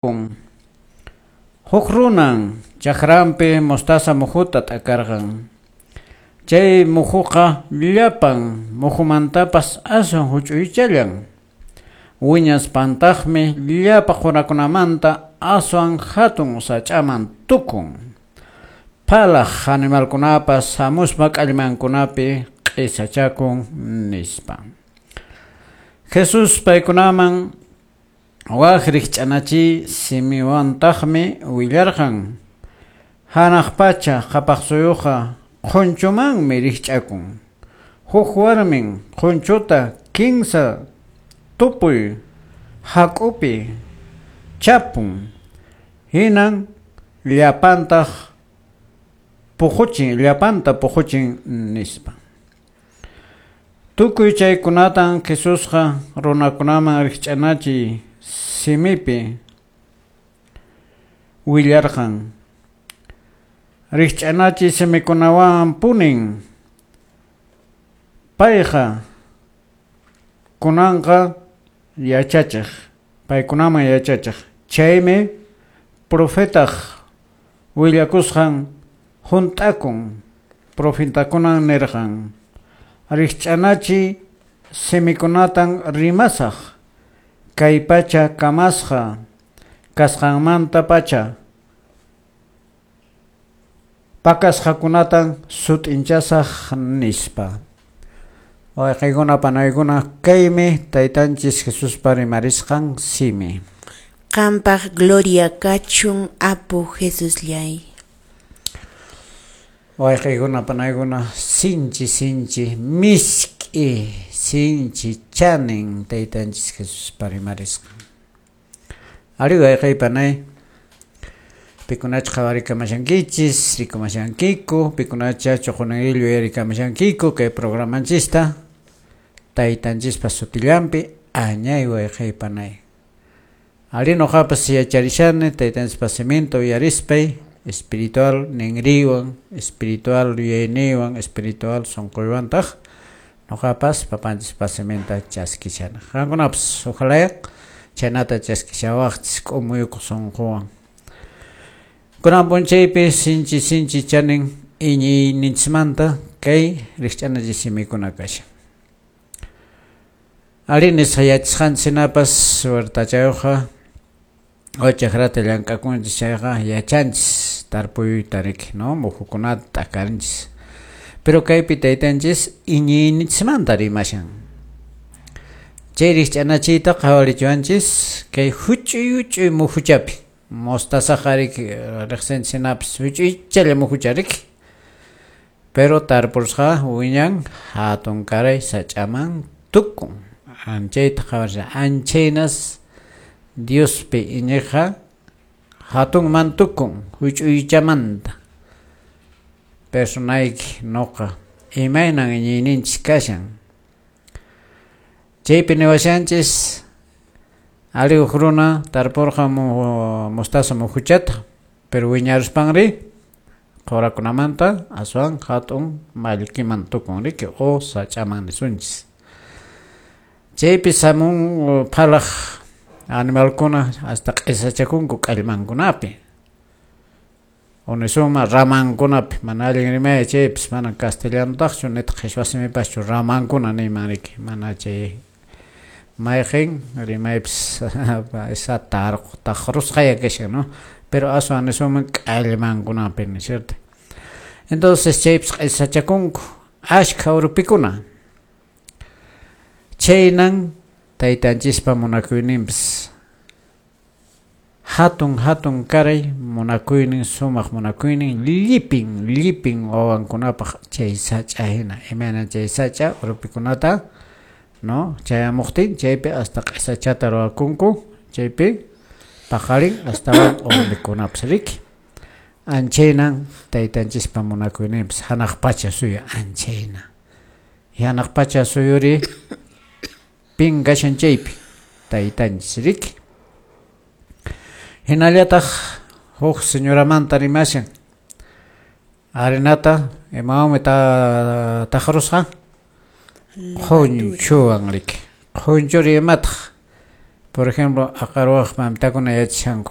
Huk runan chakranpi mostaza muhuta t'akarqan. Chay muhuqa llapan muhumantapas aswan huch'uychallan. Wiñaspantaqmi llapa qurakunamanta aswan hatun sach'aman tukun. Phalaq animalkunapas hamuspa k'allmankunapi q'isachakun, nispa. Jesús paykunaman wak rikch'anachiy simiwantaqmi willarqan. Hanaq pacha qhapaq suyuqa qhunchumanmi rikch'akun. Huk warmin qhunchuta kinsa tupuy hak'upi chapun. Hinan llapantaq puquchin, llapanta puquchin, nispa. Tukuy chaykunatan Jesusqa runakunaman rikch'anachiy simipi willarqan. Rikch'anachiy simikunawan punin payqa kunanqa yachachiq, paykunaman yachachiq. Chaymi profetaq willakusqan hunt'akun, profetakunan nirqan: Rikch'anachiy simikunatan rimasaq, kay pacha kamasqa kasqanmanta pacha pakasqakunatan sut'inchasaq, nispa. Wayqiykuna panaykuna, kaymi taytanchis Jesuspa rimarisqan simi. Qampaq gloria kachun, Apu Jesusllay. Wayqiykuna panaykuna, sinchi sinchi misk'i, sinchi chanin taytanchis Jesuspa rimarisqan. Ari wayqiy panay, pikunacha qhawarikamashankichis, rikumashankiku, pikunacha chuqunillu yuyarikamashankiku kay programanchista, taytanchispa sutillanpi añay wayqiy panay. Ari noqapas yacharishani taytanchispa siminta uyarispay, espiritual ninriwan, espiritual yuyayniwan, espiritual sunquywantaq noqapas papanchispa siminta chaskishani. Qankunapas ojalá chaynata chaskishawaqchis k'umuykuq sunquwan. Kunan p'unchaypi sinchi sinchi chanin iñiyninchismanta kay rikch'anachiy simikuna kashan. Ari nisqa yachasqanchis hinapas huertachayuqqa o chakrata llank'akunchis chayqa yachanchis tarpuyta riki, no, muhukunata t'akarinchis. Pero kaypi taytanchis iñiyninchismanta rimashan. Chay rikch'anachiyta qhawarichiwanchis kay huch'uy huch'uy muhuchapi. Mostazaqa riki riqsinchis hinapas huch'uychalla muhucha riki. Pero tarpurusqa wiñan hatun karay sach'aman tukun. Anchayta qhawarishan. Anchaynas Diospi iñiqqa hatunman tukun huch'uychamanta. Personayki noqa imaynan iñiyninchis kashan. Chaypi niwashanchis ari huk runa tarpurqa mostaza muhuchata, pero wiñaruspanri qurakunamanta aswan hatun mallkiman tukun riki o sach'aman nisunchis. Chaypi samun phalaq animalkuna hasta q'isachakunku k'allmankunapi. O nisunman ramankunapi, mana allin rimay chaypis mana castellanotaqchu nitaq qhichwa simipaschu ramankuna niyman riki, mana chay mayqin rimaypis esa taqrusqaya kashan, ¿no? Pero aswan nisunman k'allmankunapi, ¿no es cierto? Entonces chaypis q'isachakunku ashkha urpikuna. Chaynan taytanchispa munakuyninpis hatun hatun karay munakuynin, sumaq munakuynin llipin llipin wawankunapaq chay sach'a hina, imaynan chay sach'a urpikunata, no, chayamuqtin chaypi hasta q'isachata ruwakunku, chaypi paqarin astawan urpikunapas riki. Anchaynan taytanchispa munakuyninpis hanaq pacha suyu anchayna. Hanaq pacha suyuri pin kashan chaypi taytanchis riki. Hinallataq huk señoramanta rimashan. Harinata imawanmi taqrusqa? Qhunchuwan riki. Qhunchuri imataq? Por ejemplo, aqarwaq mamitakuna yachashanku.